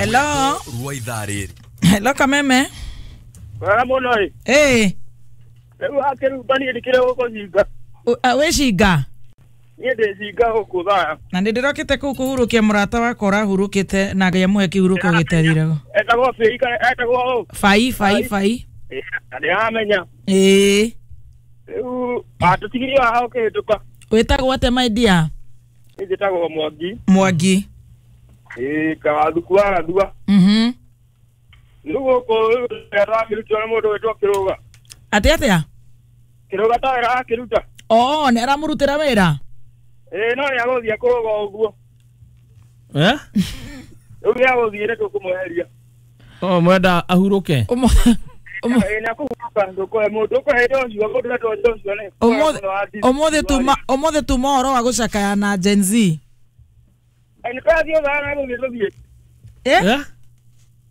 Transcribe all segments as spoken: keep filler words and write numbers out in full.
Hello. Rwa ithaa rĩrĩ. Hello, Kameme. Wega mũno ĩ. Ĩĩ. Rĩu hakĩrumba niĩ ndikĩrĩ gũkũ cinga. Wĩ cinga? Niĩ ndĩ cinga gũkũ thaya. Na nĩ ndĩrokĩte kũu kũhurũkia mũrata wakwa ũrahurũkĩte na Ngai amũhe kĩhurũko gĩtathiraga. Etagwo Bĩi kana etagwo ũ? Bai bai bai. Na ndĩramenya. Ĩĩ. Rĩu atũtigirie haha ũkĩhĩtũka. Wĩtagwo atĩa, my dear? Niĩ njĩtagwo Mwangi. Mwangi. Ĩĩ, Kawathuku wa Gathua. Mhm. Rĩu gũkũ arakĩrutwo nĩ mũndũ wĩtwo Kĩrũga. Atĩa atĩa? Kĩrũga ta wĩra arakĩruta. Oo, nĩ aramũrutĩra wĩra? Ĩĩ, no nĩ agũthiĩ kũrũga ũguo. Eh? Rĩu nĩ agũthiĩ nĩ tũkũmweheria. Oh, mwenda ahurũke. Ũmũ- Ĩĩ, nĩ akũhurũka, ndũkũhe mũndũ ũkũhe Joshua, mũndũ wetwo Joshua nĩ. Ũmũthĩ ũmũthĩ tuma ũmũthĩ tuma ũhoro wa gũcakaya na Gen Z. Nĩ twathiĩ thaa na gũthiĩ tũthiĩ. Eh? Eh?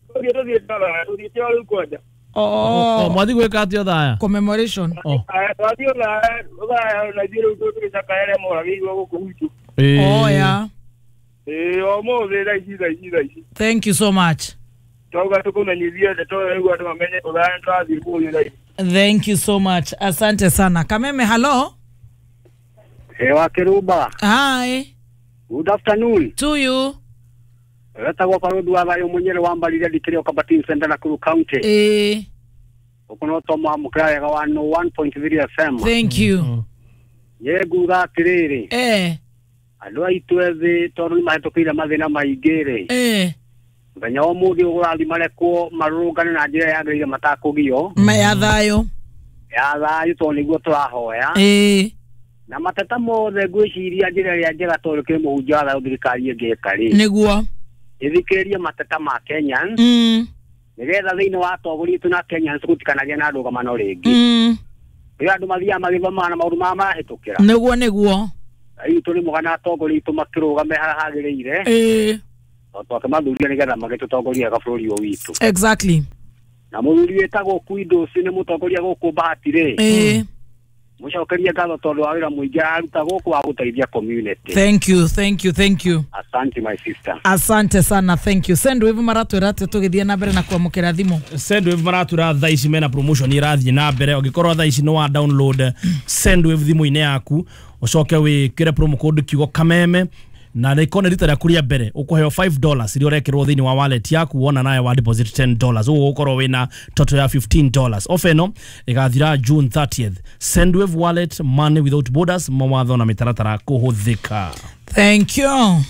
Tũthiĩ tũthiĩ thaa, tũthiĩte o rĩu kwanja. Oh, Oh, mwathi gwĩka atĩa thaya? Commemoration. Oh. Aya, twathiĩ thaa, thaa na ithuĩ rĩu tũgĩcakaya arĩa moragĩirwo gũkũ gwitũ. Oh, yeah. Ĩĩ, ũmũthĩ thaa ici thaa ici thaa ici. Thank you so much. Twauga tũkũmenyithie ndeto rĩu andũ mamenye thaa nĩ tũrathiĩ kũũria thaa ici. Thank you so much. Asante sana. Kameme, hello. Ewa Kiruba, Hi. Good afternoon. To you. Wetagwo Barũthi wa Thayũ Mũnyere wa Mbarire ndikĩrĩ o Kabatin Center Nakuru County. Eh, Gũkũ no twamwamũkĩra wega wa no one point three F M. Thank you. Niĩ nguga atĩrĩrĩ, Eh, andũ aitũ ethĩ tondũ nĩ mahĩtũkĩire mathĩna maingĩ rĩ, eh. mũthenya wa ũmũthĩ ũgũrathiĩ marekwo marũrũngane na njĩra yagĩrĩire matakũgio. Ma ya thayũ. Ya thayũ, tondũ nĩguo tũrahoya. Eh, Na mateta mothe ngwĩciria njĩra ĩrĩa njega, tondũ kĩrĩ mũhunjia wa thayũ, thirikari ĩngĩka rĩ, Nĩguo. ĩthikĩrĩrie mateta ma Kenyans, Mm. nĩgetha thĩinĩ wa atongoria itũ na Kenyans gũtikanagĩe na ndũgamano rĩngĩ. Mm. Rĩrĩa andũ mathiaga magĩthomaga na maũndũ maya marahĩtũkĩra, Nĩguo nĩguo. rĩu tũrĩ mũgana atongoria itũ makĩrũgame harĩa hagĩrĩire, Eh, tondũ twakĩmathuria nĩgetha magĩtũtongorie wega bũrũri ũyũ witũ. Exactly. Na mũthuri wĩtagwo Kwindũci nĩ mũtongoria gũkũ Bahati rĩ, Eh, mũcokerie ngatho tondũ wa wĩra mũingĩ araruta gũkũ wa gũteithia community. Thank you, thank you, thank you. Asante, my sister. Asante sana, thank you. Sendwave maratwĩra atĩ tũgĩthiĩ na mbere na kwamũkĩra thimũ? Sendwave maratwĩra thaa ici mena promotion irathiĩ na mbere. Ũngĩkorwo thaa ici nĩ wa download Sendwave thimũ-inĩ yaku, ũcoke wĩkĩre promo code kiugo Kameme, na rĩkorwo nĩ rita rĩaku rĩa mbere, ũkũheo five dollars iria ũrekĩrwo thĩinĩ wa wallet yaku wona nawe wa deposit ten dollars. Ũguo ũgũkorwo wĩna total ya fifteen dollars. Offer ĩno ĩgathira June thirtieth. Sendwave Wallet, money without borders. Mawatho na mĩtaratara kũhũthĩka. Thank you.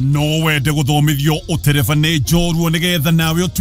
No wende gũthomithio ũtereba nĩ njorua nĩgetha nawe ũtuĩke